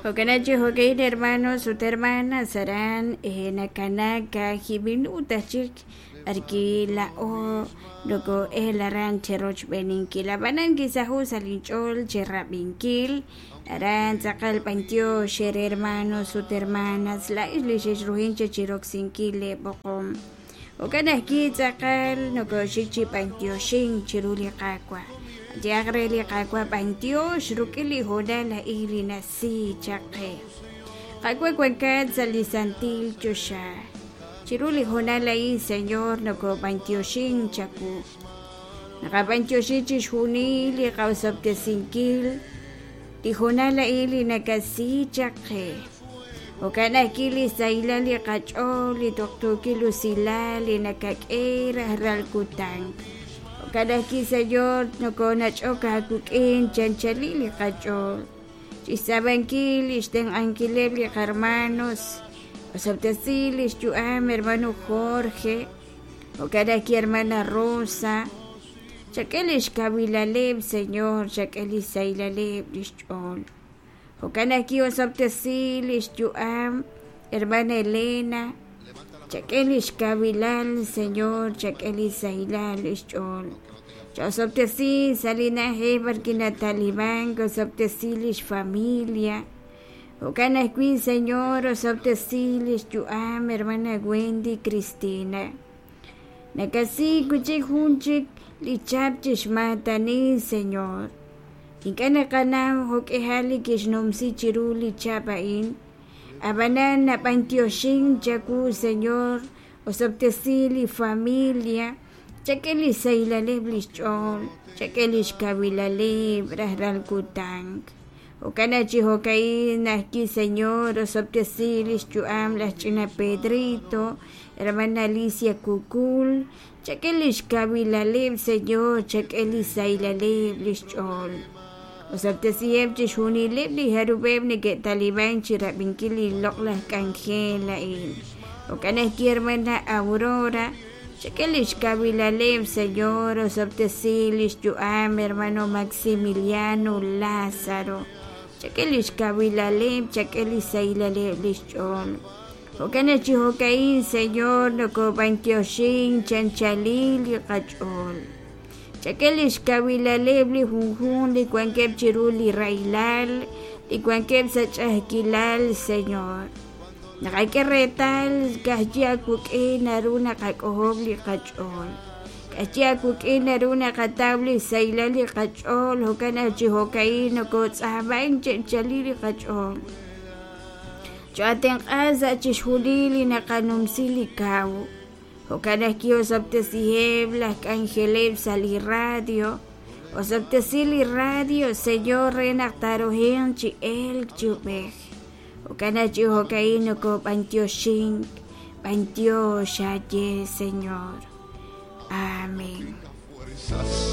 Jo'kan chi jo'ka'in hermanos ut hermanas aran nakanaak kaajib' minuut aj chik b'arwi' laa'o noko'el aran cherochb'eeninkil ab'anan kisaho' sa' linch'ool cherab'inkil aran tz'aqal b'antiox eere hermanos ut hermanas laa'ex li xexruhin chaq chiroksinkil leeb'oqom jo'kan ajwi' tz'aqal nokoxik chi b'antioxink chiru li Qaawa' qayehaq re li Qaawa' b'antiox rik'in li hoonal a'in li nasi chaq qe Qaawa' wankat sa' li santil choxa chiru li hoonal a'in Señor nokob'antioxink chawu naqab'antioxi chixjunil li qaosob'tesinkil li hoonal a'in li nakasi chaq qe jo'kan ajwi' li sahilal li qach'ool li tuqtuukil usilal li nakak'e rajlal kutan jo'kan ajwi' Señor nokonach'ok aawik'in chanchalil li qach'ool chixtz'aab'ankil li xtenq'ankileb' li qarmanos osob'tesi li xyu'am hermano Jorge jo'kan ajwi' hermana Rosa chak'e li xkawilaleb' Señor chak'e li xsahilaleb' li xch'ool jo'kan ajwi' osob'tesi li xyu'am hermana Elena chak'e li xkawilal Señor chak'e li sahilal li xch'ool cha'osob'tesi sa' li na'ajej b'arwi' natalimank osob'tesi li xfamilia jo'kan ajwi' Señor osob'tesi li xyu'am hermana Wendy Cristina nakasi wi' chik jun chik li chap chi xmaatani Señor ink'a' naqanaw jo'k'ihal li kixnumsi chiru li chap a'in ab'anan nab'antioxink chawu Señor osob'tesi li familia chak'e li xsahilaleb' li xch'ool chak'e li xkawilaleb' rajlal kutan jo'kan naq chi jo'ka'in ajwi' Señor osob'tesi li xyu'am laj ch'ina Pedrito hermana Alicia Kukul chak'e li xkawilaleb' Señor chak'e li xsahilaleb' li xch'ool osob'tesiheb' chixjunileb' li jarub'eb' neke'talimank chi rab'inkil li loq'laj k'anjel a'in jo'kan ajwi' hermana Aurora chak'e li xkawilaleb' Señor osob'tesi li xyu'am hermano Maximiliano Lázaro chak'e li xkawilaleb' chak'e li xsahilaleb' li xch'ool jo'kan naq chi jo'ka'in Señor nokob'antioxink chanchalil li qach'ool chak'e li xkawilaleb' li junjunq li wankeb' chiru li rahilal li wankeb' sa' ch'a'ajkilal Señor naqak'e reetal ka'ajwi' aawik'in naru naqak'ojob' li qach'ool ka'ajwi' aawik'in naru naqataw li xsahilal li qach'ool jo'kan naq chi jo'ka'in nokotz'aamank chanchalil li qach'ool cho'atenq'a sa' chixjunil li naqanumsi li kaw jo'kan ajwi' osob'tesiheb' laj k'anjeleb' sa' li radio osob'tesi li radio Señor re naq taaruhinq chi elk chi ub'ej jo'kan naq chi jo'ka'in nokob'antioxink b'antiox aaye Señor. Amén.